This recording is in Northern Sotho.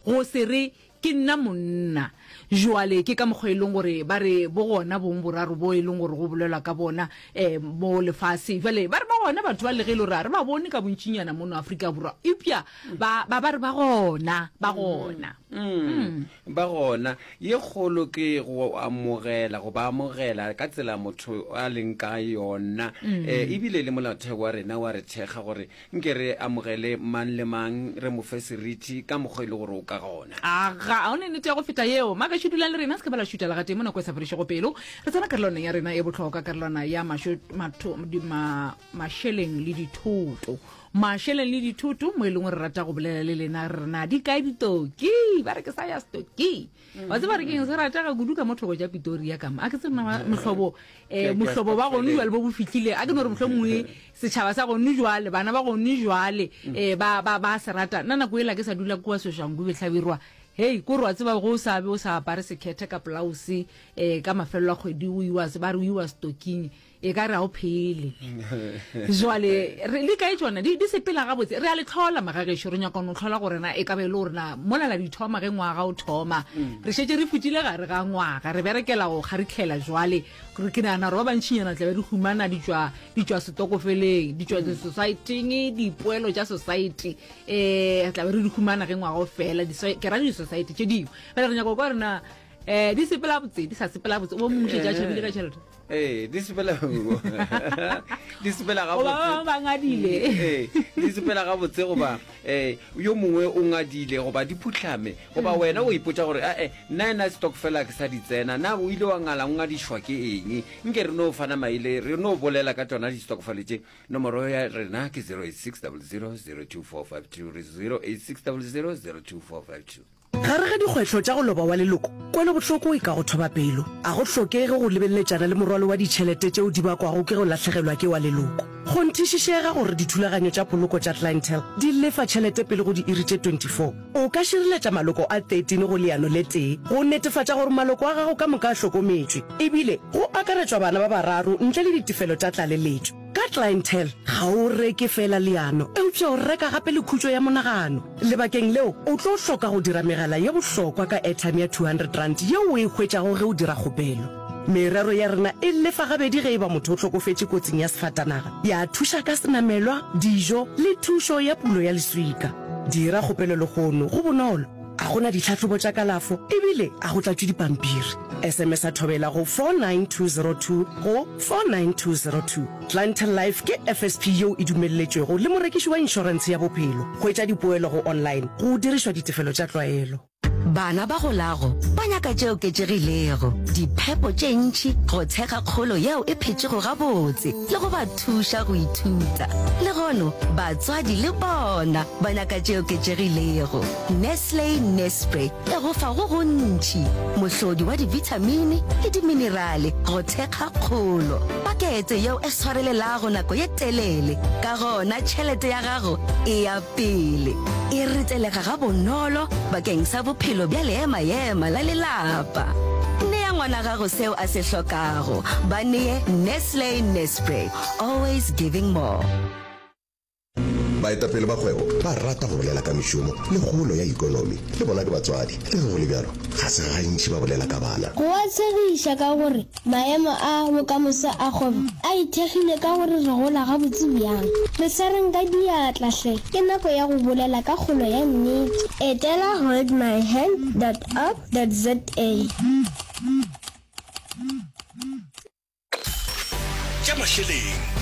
Go se re, Ke nna monna. Jwale ke ka mokgwa e leng gore ba re bo gona bong boraro bo e leng gore go bolelwa ka bona um mo lefaseng. Jwale ba re ba gona batho ba le ge e le gore ga re ba bone ka bontšinyana mono Afrika Borwa, eupša ba, ba, ba re ba gona, ba gona. Mm. Ba gona. Ye kgolo ke go amogela, go ba amogela ka tsela motho a leng ka yona. Um ebile le molaotheo wa rena wa re thekga gore Nke re amogele mang le mang, re mo fe seriti ka mokgwa e le gore o ka gona. Aga, ga o ne nnete ya go feta yeo. Magešo dulang le rena, se ke ba la šuta le gatee mo nako e sa fedišego pelo. Re tsena karolwaneng ya rena e bohlokwa, karolwana ya mašo, matho, di, ma, mašeleng le dithoto. Mašeleng le dithoto, mo e leng gore re rata go bolela le lena, re re na di kae ditoki? Ba re ke sa ya stoki. Wa tseba re keng se ratega kudu ka mo thoko tša Pitoria ka mo. A ke tsebe na mohlobo eh mohlobo ba gone jwale bo bo fihlile. A ke no re mohlomongwe setšhaba sa gone jwale, bana ba gone jwale eh ba ba ba se rata. Nna nako ela ke sa dula kua Soshanguve Hlabirwa. Hei, ko re wa tseba go sa be o sa apare sekhethe ka polause eh ka mafelelo a kgwedi o iwa ba re o iwa stoking. E ka re ga o phele. Jwale, re, di kae tšona? Di, di sepela gabotse. Re a le hlola, magagešo. Re nyaka go no hlola gore na e ka ba e le gore na mola la di thoma ge ngwaga o thoma. Re šetše re fetile gare ga ngwaga. Re berekela go kgaritlhela jwale. Re, ke nagana gore ba bantšinyana tla be re humana di tšwa, di tšwa setokofeleng, di tšwa di-society-ing, dipoelo tša society. Um re tla be re di humana ge ngwaga o fela, di, ke ra di-society tše dingwe. Bjale re nyaka go kwa gore na um di sepela botse, di sa sepela botse. O bo mongwe šetše a tšhabile ka tšhelete. Ee, di sepela di sepela Goba ba bangwe ba ngadile. Ee, di sepela gabotse goba eh yo mongwe o ngadile goba di phuhlame goba wena o ipotša gore ae nna ena stokfela ke sa di tsena na o ile wa ngala o ngadišwa ke eng nke re no fana maele re no bolela ka tšona di-stokfele tše nomoro ya rena ke 086 00 02452 re 086 00 02452 Gare ga dikgwetlho tša go loba wa leloko, kwelobohloko e ka go thoba pelo. A go hlokege go lebeletšana le morwalo wa ditšhelete tšeo di bakwago ke go lahlegelwa ke wa leloko. Kgonthišišega gore dithulaganyo tša poloko tša Clientele di lefa tšhelete pele go diiri tše 24. O ka šireletša maloko a 13 go leano le tee go netefatša gore maloko a gago ka moka a hlokometšwe, ebile go akaretšwa bana ba bararo ntle le ditefelo tša tlaleletšo. Ka Clientele, ga o reke feela leano, eupša o reka gape le khutšo ya monagano. Lebakeng leo, o tlo hloka go dira megala ye bohlokwa ka airtime ya R200 yeo o e hwetšago ge o dira kgopelo. Merero ya rena e lefa gabedi ge e ba motho o hlokofetše kotsing ya sefatanaga, ya thuša ka senamelwa, dijo le thušo ya pulo ya leswika. Dira kgopelo lehono, go bonolo, ga go na ditlhahlobo tša kalafo ebile ga go tlatšwe dipampiri. SMS-a Thobela go 49202 go 49202. Clientele Life ke FSP yeo e dumelletšwego le morekiši wa inšorentshe ya bophelo. Hwetša dipoelo go online go dirišwa ditefelo tša tlwaelo. Bana ba golago ba nyaka tše oketšegilego, diphepo tše ntši go thekga kgolo yeo e phetšego gabotse le go ba thuša go ithuta. Lehono batswadi le bona ba nyaka tše oketšegilego. Nestle Nespre e go fa go gontši, mohlodi wa dibithamini le diminerale go thekga kgolo. Pakete yeo e swarelelago nako ye telele, ka gona tšhelete ya gago e ya pele. E retelega gabonolo bakeng sa bophelo bja leemaema la lelapa. Nea ngwana gago seo a se hlokago. Ba nee Nestle Nespre, always giving more. Baetapele ba kgwebo ba rata go bolela ka mešomo le kgolo ya ekonomi. Le bona ke batswadi. Le ge go le bjalo, ga se gantši ba bolela ka bana. Go a tshegiša ka gore maemo a bokamoso a kgwebo a ithekgile ka gore re gola gabotse bjang. Re swareng ka diatla hle, ke nako ya go bolela ka kgolo ya nnete. Etela holdmyhand dot org dot za. Tša mašeleng.